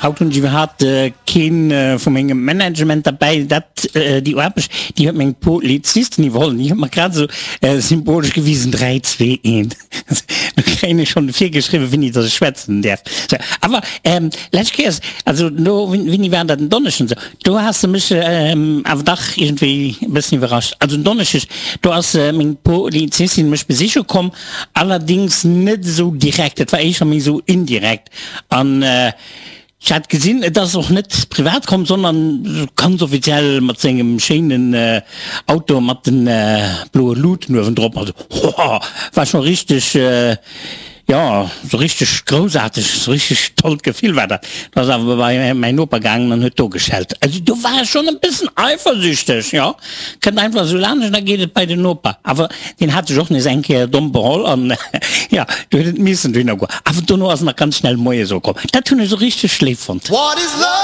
Haut hunn ech iwwerhaapt keen vu mengem Management derbäi. Dat, déi Aarbecht, déi huet meng Polizistin iwwerholl. Déi huet mer grad esou symbolesch gewisen, 3, 2, 1. Do kréien ech schonn virgeschriwwen, wéini dass ech schwätzen däerf. Sou, awer lescht Kéiers, also do, wéini war dat, en Donneschden esou, do has de mech awer dach iergendwéi e bëssen iwwerrascht. Also en Donneschdeg, do ass meng Polizistin mech besiche komm, allerdéngs net esou direkt, et war éischer méi esou indirekt. An ech hat gesinn, et ass och net privat komm, sondern ganz offiziell mat sengem schéinen Auto mat den bloe Luuten uewendrop. Also hoha, war scho richteg, jo, sou richteg groussaarteg, sou richteg tollt Gefill war dat. Do ass awer bei mäin Noper gaangen an huet do geschellt. Also do war ech schonn e bëssen eifersüchteg, jo. Kënnt einfach esou laanscht an da geet et bei den Noper. Awer deen hat sech och nees eng Kéier domm beholl an jo, do huet et missen dohinner goen. Awer dono ass en nach ganz schnell moies ukomm. Dat hunn ech esou richteg léif fonnt.